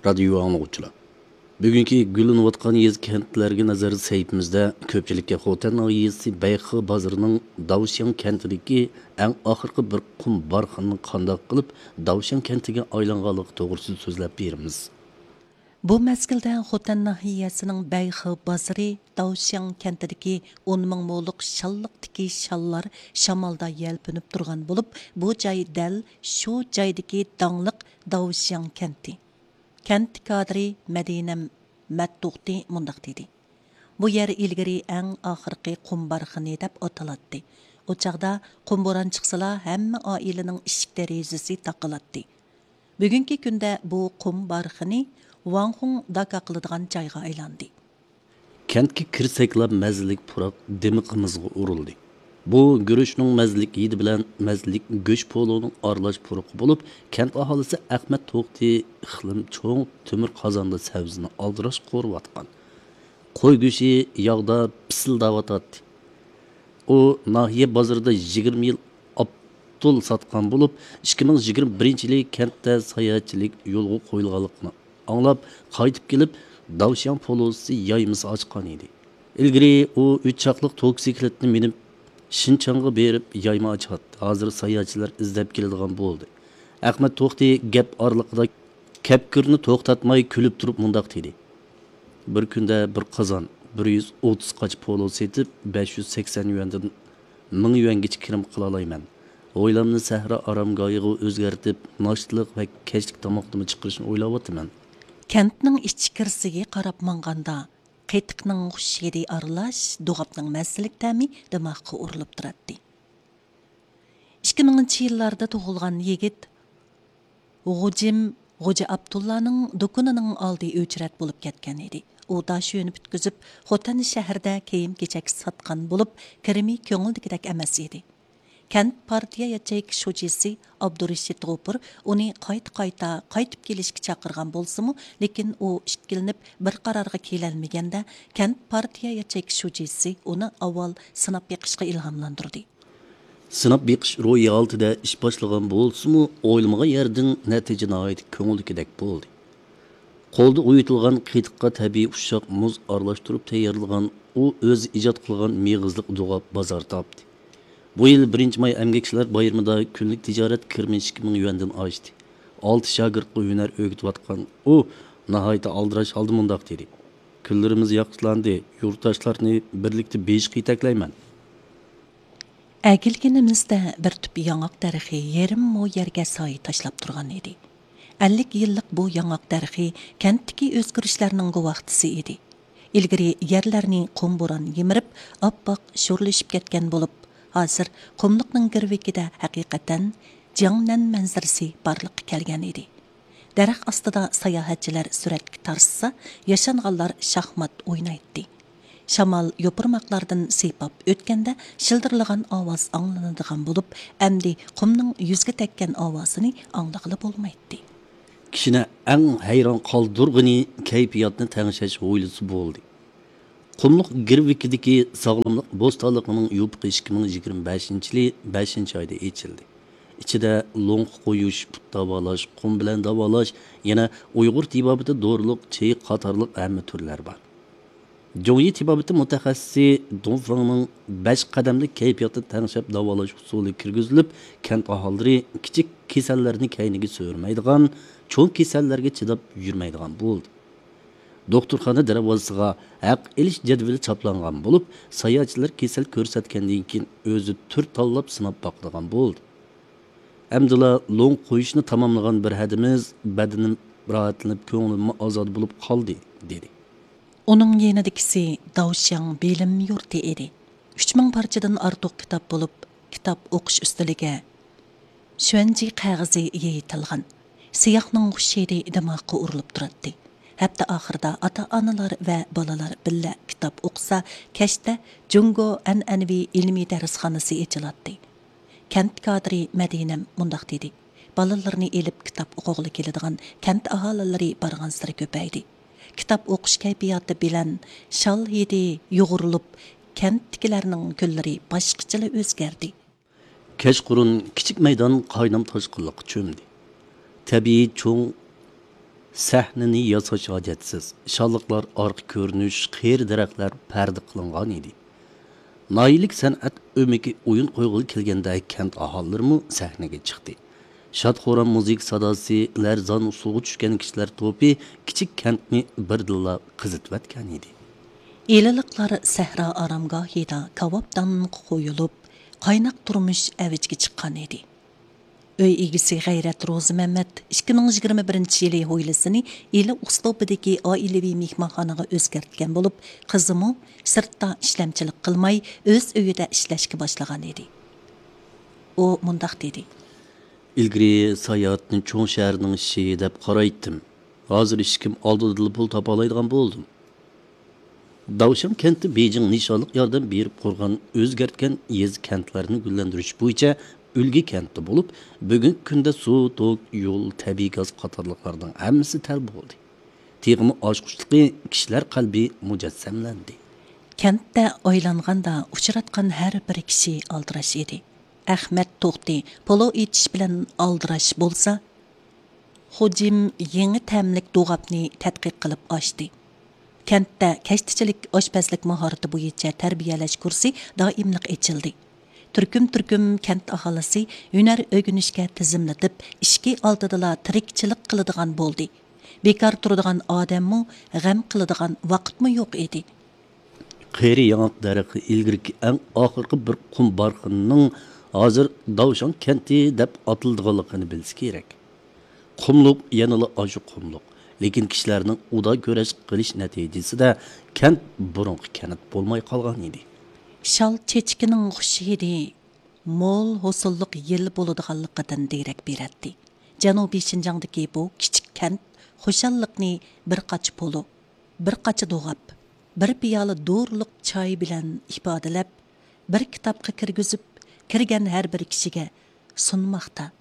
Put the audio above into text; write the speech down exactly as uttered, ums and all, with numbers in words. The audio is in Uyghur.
رادىيو ئاڭلىغۇچىلار، بۈگۈنكى گۈللىنىۋاتقان يېزا، كەنتلەرگە نەزەر سەھىپىمىزدە كۆپچىلىككە خوتەن ناھىيەسى بەيخې بازىرىنىڭ داۋشياڭ كەنتىدىكى ئەڭ ئاخىرقى بىر قۇم بارخاننىڭ قانداق قىلىپ داۋشياڭ كەنتىگە ئايلانغانلىقى توغرىسىدا سۆزلەپ بېرىمىز. بۇ مەزگىلدە خوتەن ناھىيەسىنىڭ بەيخې بازىرى داۋشياڭ كەنتىدىكى ئون مىڭ مولۇق شاللىقتىكى شاللار شامالدا يەلپۈنۈپ تۇرغان بولۇپ، بۇ جاي دەل شۇ جايدىكى داڭلىق داۋشياڭ كەنتى. كەنت كادىرى مەدىنە مەتتوقتى مۇنداق دېدى: بۇ يەر ئىلگىرى ئەڭ ئاخىرقى قۇم بارخىنى دەپ ئاتىلاتتى. ئۇ چاغدا قۇم بوران چىقسىلا، ھەممە ئائىلىنىڭ ئىشىك دېرىزىسى تاقىلاتتى. بۈگۈنكى كۈندە بۇ قۇم بارخىنى ۋاڭخۇڭ داكا قىلىدىغان جايغا ئايلاندى. كەنتكە كىرسەكلا مەززىلىك پۇراق دىمىقىمىزغا ئۇرۇلدى. بۇ گۈرۈچنىڭ مەززىلىك ھىدى بىلەن مەززىلىك گۆش پولۇنىڭ ئارىلاش پۇرىقى بولۇپ، كەنت ئاھالىسى ئەخمەت توختى ئىقلىم چوڭ تۆمۈر قازاندا سەۋزىنى ئالدىراش قورۇۋاتقان. قوي گۆشى ياغدا پىسىلداۋاتاتتى. ئۇ ناھىيە بازىرىدا يىگىرمە يىل ئاپتول ساتقان بولۇپ، ئىككى مىڭ يىگىرمە بىرىنچى يىلى كەنتتە ساياھەتچىلىك يولغا قويۇلغانلىقىنى ئاڭلاپ، قايتىپ كېلىپ، داۋشياڭ پولۇسى يايمىسى ئاچقان ئىدى. ئىلگىرى ئۇ ئۈچ چاقلىق توكسىكلىتنى مىنىپ، شىنچاڭغا بېرىپ يايما ئاچاتتى. ھازىر ساياھەتچىلەر ئىزدەپ كېلىدىغان بولدى. ئەخمەت توختى گەپ ئارىلىقىدا كەپكۈرنى توختاتماي كۈلۈپ تۇرۇپ مۇنداق دېدى: بىر كۈندە بىر قازان بىر يۈز ئوتتۇز قاچا پولۇ سېتىپ، بەش يۈز سەكسەن يۈەندىن مىڭ يۈەنگىچە كىرىم قىلالايمەن. ھويلامنى سەھرا ئارامگاھىغا ئۆزگەرتىپ، ناشتىلىق ۋە كەچلىك تاماقنىمۇ چىقىرىشنى ئويلاۋاتىمەن. كەنتنىڭ ئىچكىرىسىگە قاراپ ماڭغاندا، قېتىقنىڭ خۇش ھىدى ئارىلاش دوغاپنىڭ مەززىلىك تەمى دىماغقا ئۇرۇلۇپ تۇراتتى. ئىككى مىڭىنچى يىللاردا تۇغۇلغان يىگىت غۇجىم غوجا ئابدۇللانىڭ دۇكىنىنىڭ ئالدى ئۆچرەت بولۇپ كەتكەن ئىدى. ئۇ داش يۆنى پۈتكۈزۈپ، خوتەن شەھىرىدە كىيىم-كېچەك ساتقان بولۇپ، كىرىمى كۆڭۈلدىكىدەك ئەمەس ئىدى. كەنت پارتىيە ياچېيكا شۇجىسى ئابدۇرېشىت غوپۇر ئۇنى قايتا-قايتا قايتىپ كېلىشكە چاقىرغان بولسىمۇ، لېكىن ئۇ ئىككىلىنىپ بىر قارارغا كېلەلمىگەندە، كەنت پارتىيە ياچېيكا شۇجىسى ئۇنى ئاۋۋال سىناپ بېقىشقا ئىلھاملاندۇردى. سىناپ بېقىش روھىي ھالىتىدە ئىش باشلىغان بولسىمۇ، ئويلىمىغان يەردىن نەتىجە ناھايىتى كۆڭۈلدىكىدەك بولدى. قولدا ئويۇتۇلغان قېتىققا تەبىئىي ئۇششاق مۇز ئارىلاشتۇرۇپ تەييارلىغان ئۇ ئۆزى ئىجاد قىلغان مېغىزلىق دوغاپ بازار تاپتى. بۇ يىل بىرىنچى ماي ئەمگەكچىلەر بايرىمىدا كۈنلۈك تىجارەت كىرىمى ئىككى مىڭ يۈەندىن ئاشتى. ئالتە شاگىرتقا ھۈنەر ئۆگىتىۋاتقان ئۇ ناھايىتى ئالدىراش ھالدا مۇنداق دېدى: كۈنلىرىمىز ياخشىلاندى، يۇرتداشلارنى بىرلىكتە بېيىشقا يېتەكلەيمەن. ئەگىلگىنىمىزدە بىر تۈپ ياڭاق دەرىخى يېرىم مو يەرگە سايە تاشلاپ تۇرغان ئىدى. ئەللىك يىللىق بۇ ياڭاق دەرىخى كەنتتىكى ئۆزگىرىشلەرنىڭ گۇۋاھچىسى ئىدى. ئىلگىرى يەرلەرنى قۇم بوران يىمىرىپ، ئاپئاق شورلىشىپ كەتكەن بولۇپ، ھازىر قۇملۇقنىڭ گىرۋىكىدە ھەقىقەتەن جياڭنەن مەنزىرىسى بارلىققا كەلگەن ئىدى. دەرەخ ئاستىدا ساياھەتچىلەر سۈرەتكە تارتسا، ياشانغانلار شاھمات ئوينايتتى. شامال يوپۇرماقلاردىن سىيپاپ ئۆتكەندە شىلدىرلىغان ئاۋاز ئاڭلىنىدىغان بولۇپ، ئەمدى قۇمنىڭ يۈزگە تەگكەن ئاۋازىنى ئاڭلىغىلى بولمايتتى. كىشىنى ئەڭ ھەيران قالدۇرغىنى كەيپىياتنى تەڭشەش ھويلىسى بولدى. قۇملۇق گىرۋىكىدىكى ساغلاملىق بوستانلىقىنىڭ يوپۇقى ئىككى مىڭ يىگىرمە بەشىنچى يىلى بەشىنچى ئايدا ئېچىلدى. ئىچىدە لوڭقا قويۇش، پۇت داۋالاش، قۇم بىلەن داۋالاش، يەنە ئۇيغۇر تېبابىتى دورىلىق چېيى قاتارلىق ھەممە تۈرلەر بار. جۇڭيى تېبابىتى مۇتەخەسسىسى دۇڭفېڭنىڭ بەش قەدەملىك كەيپىياتنى تەڭشەپ داۋالاش ئۇسۇلى كىرگۈزۈلۈپ، كەنت ئاھالىلىرى كىچىك كېسەللەرنى كەينىگە سۆرىمەيدىغان، چوڭ كېسەللەرگە چىداپ يۈرمەيدىغان بولدى. دوختۇرخانا دەرۋازىسىغا ھەق ئېلىش جەدۋىلى چاپلانغان بولۇپ، ساياھەتچىلەر كېسەل كۆرسەتكەندىن كېيىن ئۆزى تۈر تاللاپ سىناپ باقىدىغان بولدى. ئەمدىلا لوڭ قويۇشنى تاماملىغان بىر ھەدىمىز بەدىنىم راھەتلىنىپ، كۆڭلۈممۇ ئازادە بولۇپ قالدى، دېدى. ئۇنىڭ يېنىدىكىسى داۋشياڭ بىلىم يۇرتى ئىدى. ئۈچ مىڭ پارچىدىن ئارتۇق كىتاب بولۇپ، كىتاب ئوقۇش ئۈستىلىگە شۈەنجى قەغىزى يېيىتىلغان. سىياھنىڭ خۇش ھىدى دىماغقا ئۇرۇلۇپ تۇراتتى. ھەپتە ئاخىرىدا ئاتا-ئانىلار ۋە بالىلار بىللە كىتاب ئوقۇسا، كەچتە جۇڭگو ئەنئەنىۋى ئىلمىي دەرسخانىسى ئېچىلاتتى. كەنت كادىرى مەدىنەم مۇنداق دېدى: بالىلىرىنى ئېلىپ كىتاب ئوقۇغىلى كېلىدىغان كەنت ئاھالىلىرى بارغانسېرى كۆپەيدى. كىتاب ئوقۇش كەيپىياتى بىلەن شال ھىدى يۇغۇرۇلۇپ، كەنتتىكىلەرنىڭ كۈنلىرى باشقىچىلا ئۆزگەردى. كەچقۇرۇن كىچىك مەيدان قاينام تاشقىنلىققا چۆمدى. تەبىئىي چوڭ سەھنىنى ياساش ھاجەتسىز، شاللىقلار ئارقا كۆرۈنۈش، قېرى دەرەخلەر پەردە قىلىنغان ئىدى. ناھىيەلىك سەنئەت ئۆمىكى ئويۇن قويغىلى كەلگەندە كەنت ئاھالىلىرىمۇ سەھنىگە چىقتى. شاد-خۇرام مۇزىكا ساداسى، لەرزان ئۇسسۇلغا چۈشكەن كىشىلەر توپى كىچىك كەنتنى بىردىنلا قىزىتىۋەتكەن ئىدى. ئىلىلىقلار سەھرا ئارامگاھىدا كاۋاپدانغا قويۇلۇپ، قايناق تۇرمۇش ئەۋجىگە چىققان ئىدى. ئۆي ئىگىسى غەيرەت روزىمەمەت ئىككى مىڭ يىگىرمە بىرىنچى يىلى ھويلىسىنى ئىلى ئۇسلۇبىدىكى ئائىلىۋى مېھمانخانىغا ئۆزگەرتكەن بولۇپ، قىزىمۇ سىرتتا ئىشلەمچىلىك قىلماي، ئۆز ئۆيىدە ئىشلەشكە باشلىغان ئىدى. ئۇ مۇنداق دېدى. ئىلگىرى ساياھەتنى چوڭ شەھەرنىڭ ئىشى دەپ قارايتتىم. ھازىر ئىشىكىم ئالدىدىلا پۇل تاپالايدىغان بولدۇم. داۋشان كەنتى بېيجىڭ نىشانلىق ياردەم بېرىپ قۇرغان، ئۆزگەرتكەن يېزا، كەنتلەرنى گۈللەندۈرۈش بويىچە ئۈلگە كەنتى بولۇپ، بۈگۈنكى كۈندە سۇ، توك، يول، تەبىئىي گاز قاتارلىقلارنىڭ ھەممىسى تەل بولدى. تېخىمۇ ئاچقۇچلۇقى، كىشىلەر قەلبى مۇجەسسەملەندى. كەنتتە ئايلانغاندا ئۇچراتقان ھەر بىر كىشى ئالدىراش ئىدى. ئەخمەت توختى پولۇ ئېتىش بىلەن ئالدىراش بولسا، خوجىم يېڭى تەملىك دوغاپنى تەتقىق قىلىپ ئاچتى. كەنتتە كەشتىچىلىك ئاشپەزلىك ماھارىتى بويىچە تەربىيەلەش كۇرسى دائىملىق ئېچىلدى. تۈركۈم-تۈركۈم كەنت ئاھالىسى ھۈنەر ئۆگىنىشكە تىزىملىتىپ، ئىشىكى ئالدىدىلا تىرىكچىلىك قىلىدىغان بولدى. بىكار تۇرىدىغان ئادەممۇ، غەم قىلىدىغان ۋاقىتمۇ يوق ئىدى. قېرى ياڭاق دەرىخى ئىلگىرىكى ئەڭ ئاخىرقى بىر قۇم بارخىنىنىڭ ھازىر داۋشان كەنتى دەپ ئاتىلىدىغانلىقىنى بىلسە كېرەك. قۇملۇق يەنىلا ئاشۇ قۇملۇق، لېكىن كىشىلەرنىڭ ئۇدا كۈرەش قىلىش نەتىجىسىدە كەنت بۇرۇنقى كەنت بولماي قالغان ئىدى. شال چېچىكىنىڭ خۇش ھىدى مول ھوسۇللۇق يىل بولىدىغانلىقىدىن دېرەك بېرەتتى. جەنۇبىي شىنجاڭدىكى بۇ كىچىك كەنت خۇشاللىقنى بىر قاچا پولۇ، بىر قاچا دوغاپ، بىر پىيالە دورىلىق چاي بىلەن ئىپادىلەپ، بىر كىتابقا كىرگۈزۈپ، كىرگەن ھەر بىر كىشىگە سۇنماقتا.